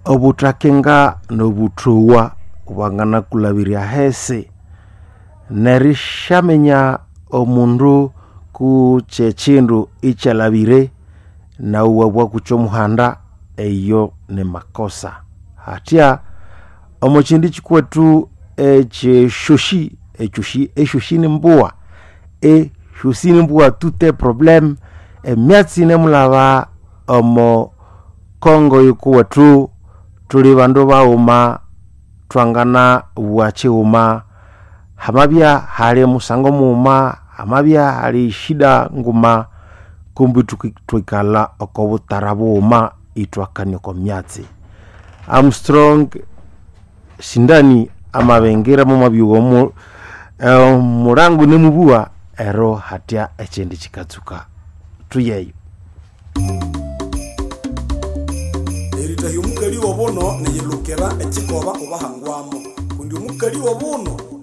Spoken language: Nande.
Obuthakenga nobuthowa bwanganakulhabirya ahisi nerishaminya omundu kutse ekyindu ikyalhabire nawu iwabugha kutse omuhanda eyo nimakosa. Hathya omo kyindu kyikwethu ekyesyosi, esyosi esyosi nimbugha, esyosi nimbugha tout est problème, emyatsi yinemulhaba omo Congo yikuwethu thuli bandu baghuma thwanganabugha kyighuma. Hamabya hali musango mughuma, hamabya hali shida nguma, kumbi thwikalha oko butara bughuma ithwakania oko myatsi. Armstrong Sindani amabingira momwabyugha omulango inemubugha ero hathya ekyindi kyikatsuka. Thuyeyo. Eritahya omukali w'obuno niyilukira ekikoba kubahangwamo kundi omukali w'obuno